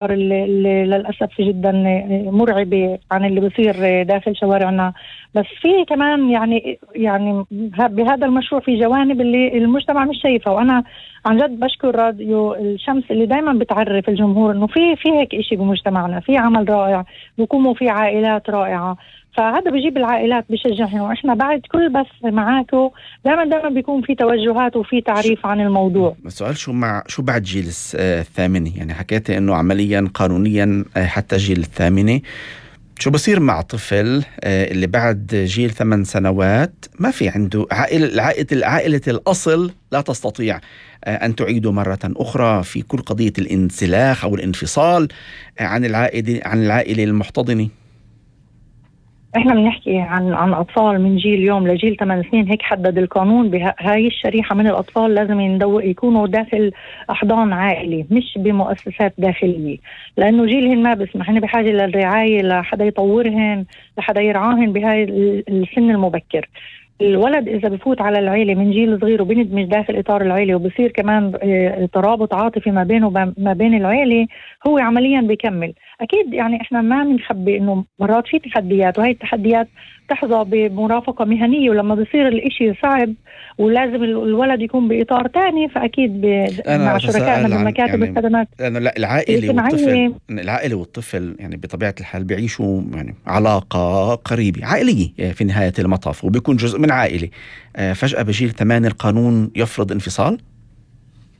اللي للأسف جدا مرعبة عن اللي بيصير داخل شوارعنا. بس في كمان يعني بهذا المشروع في جوانب اللي المجتمع مش شايفها، وأنا عن جد بشكر راديو الشمس اللي دايما بتعرف الجمهور إنه في هيك إشي بمجتمعنا، في عمل رائع بيقوموا في عائلات رائعة، فهذا بيجيب العائلات بيشجعهم. وإحنا بعد كل بث معاكم دائما بيكون في توجهات وفي تعريف عن الموضوع. السؤال شو بعد جيل الثامنة؟ يعني حكيت إنه عمليا قانونيا حتى جيل الثامنة، شو بصير مع طفل اللي بعد جيل 8 سنوات ما في عنده عائلة الأصل لا تستطيع أن تعيده مرة أخرى في كل قضية الانسلاخ أو الانفصال عن العائلة المحتضنة؟ احنا بنحكي عن اطفال من جيل يوم لجيل 8 سنين، هيك حدد القانون. بهاي الشريحة من الاطفال لازم يكونوا داخل احضان عائلي مش بمؤسسات داخلية، لانه جيلهن ما بسمح، هن بحاجة للرعاية، لحدا يطورهن، لحدا يرعاهن بهاي السن المبكر. الولد إذا بفوت على العيلة من جيل صغير وبندمج داخل إطار العيلة وبصير كمان ترابط عاطفي ما بينه وما بين العيلة، هو عمليا بيكمل. أكيد يعني إحنا ما بنخبي إنه مرات في تحديات، وهي التحديات تحظى بمرافقة مهنية، ولما بيصير الإشي صعب ولازم الولد يكون بإطار تاني، فأكيد مع شركائنا بمكاتب الخدمات. لأنه لا، العائلة والطفل يعني بطبيعة الحال بيعيشوا يعني علاقة قريبة عائلية في نهاية المطاف، وبيكون جزء من عائلة. فجأة بجيل 8 القانون يفرض انفصال؟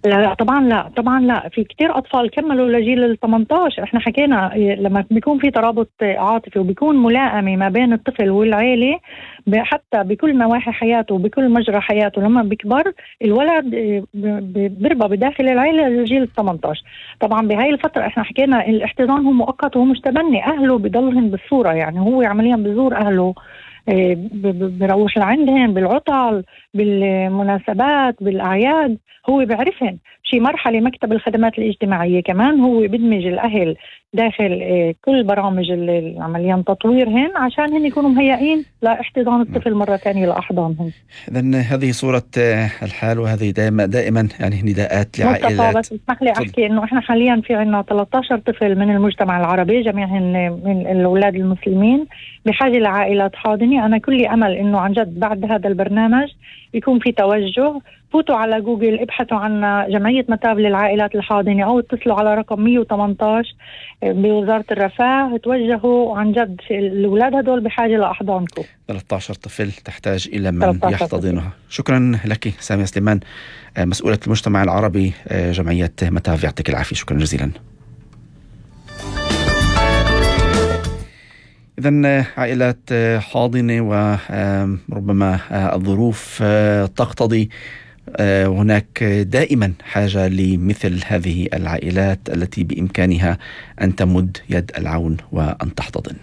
لا طبعا لا، في كتير أطفال كملوا لجيل 18. احنا حكينا لما بيكون في ترابط عاطفي وبيكون ملائمة ما بين الطفل والعيلة حتى بكل نواحي حياته وبكل مجرى حياته، لما بيكبر الولد بيربى بداخل العيلة لجيل 18. طبعا بهاي الفترة احنا حكينا الاحتضان هو مؤقت وهو مش تبني، أهله بيضلهم بالصورة، يعني هو عمليا بزور أهله، بروح لعندهم بالعطل بالمناسبات بالأعياد، هو بعرفهم. شي مرحلة مكتب الخدمات الاجتماعية كمان هو بدمج الأهل داخل كل برامج عمليا تطويرهن عشان هن يكونوا مهيئين لاحتضان الطفل مرة ثانية لأحضانهم. إذن هذه صورة الحال، وهذه دائما يعني نداءات لعائلات. بس اسمح لي أحكي إنه إحنا حاليا في عنا 13 طفل من المجتمع العربي، جميعهم من الأولاد المسلمين بحاجة لعائلات حاضنة. أنا كل أمل إنه عن جد بعد هذا البرنامج يكون في توجه. فوتوا على جوجل، ابحثوا عن جمعية متاب للعائلات الحاضنة أو اتصلوا على رقم 118 بوزارة الرفاه، توجهوا. عن جد الأولاد هدول بحاجة لأحضانكم. 13 طفل تحتاج إلى من يحتضنها. شكرا لك سامية سليمان، مسؤولة المجتمع العربي جمعية متاب، يعطيك العافية، شكرا جزيلا. إذن عائلات حاضنة، وربما الظروف تقتضي هناك دائما حاجة لمثل هذه العائلات التي بإمكانها أن تمد يد العون وأن تحتضن.